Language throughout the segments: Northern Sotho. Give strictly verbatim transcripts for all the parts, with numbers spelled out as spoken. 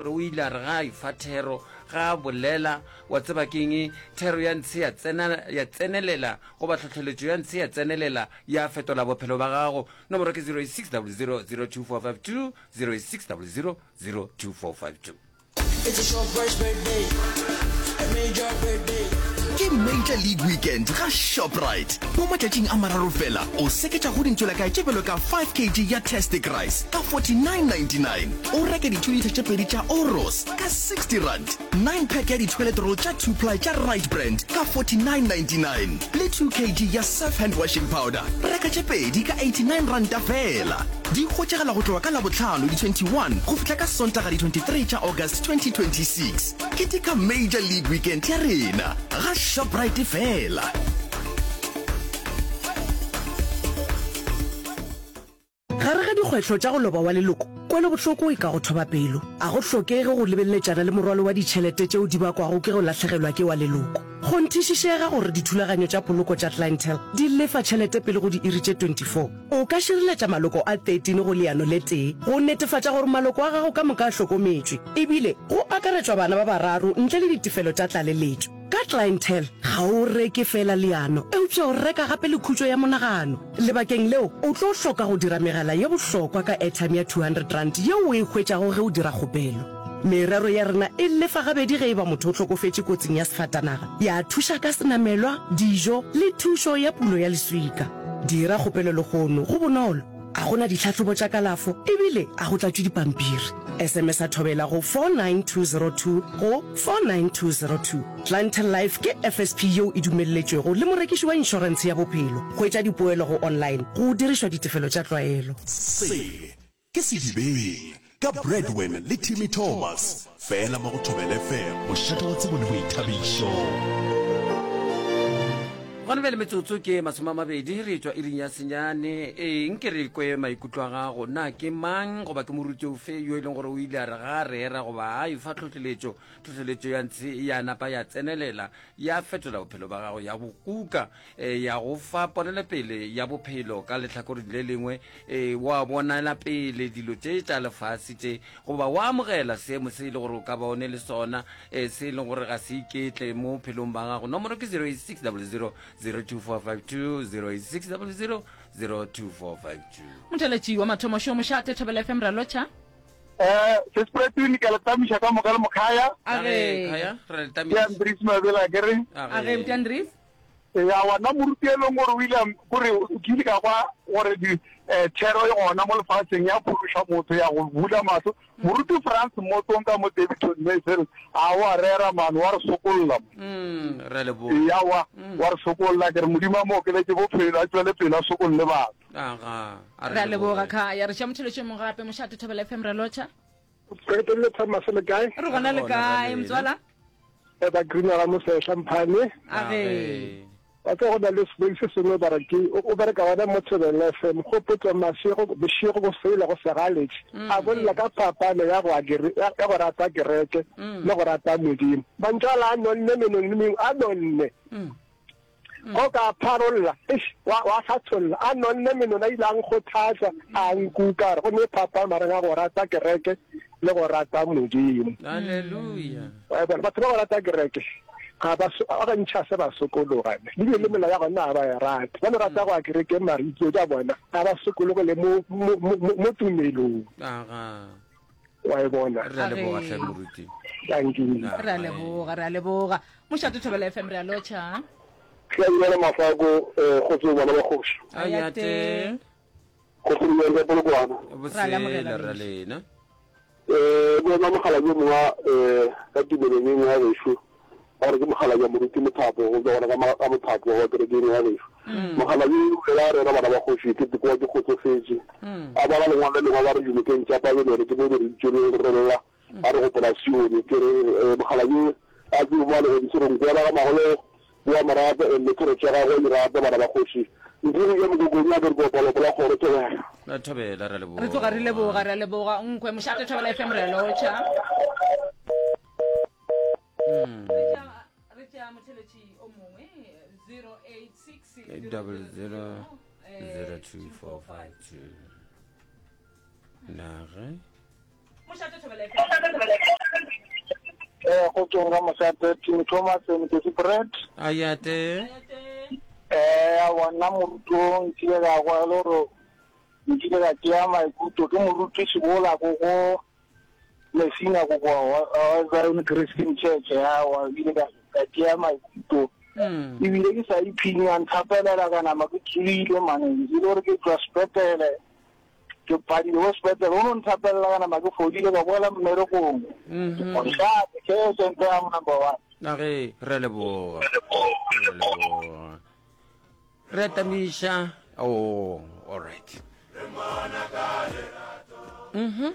gore o ile a re ga a efa thero, ga a bolela, wa tseba keng, thero ya ntshe ya tsena, ya tsenelela, goba tlhohleletšo ya ntshe ya tsenelela, ya fetola bophelo ba gago. Nomoro ke zero eight six double zero zero two four five two, zero eight six double zero zero two four five two. It's a Shoprite's birthday, a major birthday. Ke Major League Weekend ga Shoprite. Mo matšatšing a mararo fela, o seketša go dintšwelakae tše bjalo ka five kg ya Tastic Rice ka forty-nine ninety-nine, o reke di-two litre tše pedi tša Oros ka sixty rand, nine pack ya di-toilet roll tša two ply tša Right Brand ka forty-nine ninety-nine, le two kg ya Surf hand washing powder, reka tše pedi ka eighty-nine ranta fela. Di hwetšagala go tloga ka Labohlano di twenty-one go fihla ka Sontaga di twenty-three tša August twenty twenty-six. Keteka Major League Weekend ya rena ga Shoprite fela. Gare ga dikgwetlho tša go loba wa leloko, kwelobohloko e ka go thoba pelo. A go hlokege go lebeletšana le morwalo wa ditšhelete tšeo di bakwago ke go lahlegelwa ke wa leloko. Kgonthišišega gore dithulaganyo tša poloko tša Clientele di lefa tšhelete pele go diiri tše twenty-four. O ka šireletša maloko a thirteen go leano le tee go netefatša gore maloko a gago ka moka a hlokometšwe, ebile go akaretšwa bana ba bararo ntle le ditefelo tša tlaleletšo. Ka Clientele, ga o reke feela leano, eupša o reka gape le khutšo ya monagano. Lebakeng leo, o tlo hloka go dira megala ye bohlokwa ka airtime ya two hundred rand yeo o e hwetšago ge o dira kgopelo. Merero ya rena e lefa gabedi ge e ba motho o hlokofetše kotsing ya sefatanaga, ya thuša ka senamelwa, dijo le thušo ya pulo ya leswika. Dira kgopelo lehono, go bonolo, a go na ditlhahlobo tša kalafo ebile a go tlatšwe dipampiri. S M S a thobela go four nine two zero two go four nine two zero two. Clientele Life ke F S P yeo e dumelletšwego le morekiši wa inšorentshe ya bophelo. Hwetša dipoelo go online go dirišwa ditefelo tša tlwaelo. Se ke Sedibeng ka Bradwin le Timmy Thomas, fela mo go Thobela F M, mošate wa tsebo le boithabišo. Gona bjale metsotso ke masome a mabedi re tšwa iring ya senyane. Ee, nke re kwe maikutlo a gago. Na ke mang goba ke moruti ofe yo e leng gore o ile a re ga a rera goba a efa tlhohleletšo, tlhohleletšo ya ntshe ya napa ya tsenelela, ya fetola bophelo ba gago, ya bo kuka, eh, ya go fa ponelopele ya bophelo ka lehlakoreng le lengwe, eh, wa bonela pele dilo tše tša lefase tše, goba wa amogela seemo se e le gore o ka ba o ne le sona, eh, se e leng gore ga se iketle mo bophelong ba gago. Nomoro ke zero eight six double zero zero two four five two, zero eight six double zero zero two four five two. Motheletši wa mathomo šo mošate Thobela F M, ra lotšha. Eh, se Spreadwin ke le tamiša ka moka le mokhaya. A ge. Khaya, re le Ke tamiša. Andries Mabela ke re. A ge, Buti Andries. Ya wa na moruti e leng gore o ile a m-, kore o ke ile ka kwa gore di, eh, thero e gona mo lefatsheng ya phološa motho, ya go bula mahlo. Moruti Frans Motong ka mo Daveyton Mayfield, a wa rera man, wa re sokolla. Mm, re a leboga. Ya wa, Mm. wa re sokolla, ke re Modimo a mo okeletse bophelo, a tšwele pele a sokolle batho. Aga, a re Re a leboga, leboge. Khaya. Re tšea motheletšo mongwe gape, mošate Thobela F M, re lotšha. Re le Thomas le kae? Re gona le Re gona, kae, re motswala? E ba Green ga Mosehla Mphane. A ge. Wa tseba go na le sebeng se sengwe ba re ke, o, o bereka gona mo Thobela F M, go potsa mašego, bošego go feila go segaletše. Mm. A bolela ka phapano ya go a kere-, ya, ya go rata kereke Mm. le go rata Modimo. Mantšu a la a nonne menong le mengwe, a nonne. Mm. Go ka pharolla, eish, wa, wa hlatholla, a nonne menong, a ile a nkgothatša, a nkuka, a re go ne phapano magareng a go rata kereke le go rata Modimo. Hallelujah. Wa bona, batho ba go rata kereke ga ba so-, ba gantši ga se ba sokologa, ne. Le bile le melao ya gona ga ba e rate. Ba no rata go ya kerekeng, mara ditso tša bona ga ba sokologele mo, mo, mo, mo, mo tumelong. Aga. Wa e bona. Re a leboga, Age. hle, moruti. Thank you. Re a leboga, re a leboga. Mošate Thobela F M, re a lotšha. Ke a dumela Mafako, eh, kgotso bana ba kgoši. Ayate. Kgotso le ka Polokwane. Re a le amogela, Bosele, ra bešo. lena. Eh, bona mogala yo mongwe, eh, ka tumelong e nngwe ya gešo, ba re ke mogala ya moruti Mothapo, go tswa gona ka ma-, ka Mothapo wa kerekeng ya gešo. Mm. Mogala yo o ile a rera bana ba kgoši, ke tsekoa ke kgotsofetše. Mm. A bala lengwalo le lengwe ba re dinokeng tša Babelone, ke mo re itše re re lla, Mm. a re gopola Sione. Ke re, eh, mogala yo a tsebe mo a le godise, re nkwela ga magolo, wa morata, and le thero tša gagwe di rata bana ba kgoši. Ntle le mokokong ya ke re kopalo pola kgoro Thobela. La Thobela, re a leboga. Re tloga re leboga, re a leboga. Nkwe, mošate Thobela F M, re a lotšha. Mm. Re tšea motheletši o mongwe, zero eight six Eight double zero, eh, zero two four five two. Nage. Mošate Thobela F M. Motsong ka Mosate, Timmy Thomas, Nkosi Brett. Ayate. Eh, aowa nna moruti o nkile ka kwa e le gore nkile ka tšea maikutlo ke moruti Sebola ko go Messina ko kwa wa Zion Christian Church, aowa ebile ka ka tšea maikutlo ebile ke sa ipshine a nthapelela ka nama ke tswile mane e le gore ke tšwa sepetlele ke padile ko sepetlele o no nthapelela ka nama ke fodile ka boela mmerekong mošate ke sente ya number one. Na ge re a leboga, re a leboga, re a tamiša. Oh, all right. Mhm.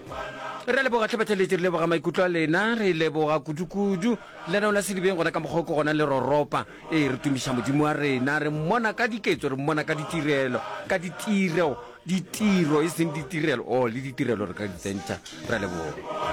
Re a leboga tlhe batheletši, re leboga maikutlo a lena, re leboga kudu-kudu lenao la Sedibeng gona ka mokgwa o ke gona le roropa. Ee, re tumiša Modimo wa rena, re mmona ka diketso, re mmona ka ditirelo, ka ditiro, ditiro e seng ditirelo. Oh, le ditirelo re ka di tsentšha. Re a leboga.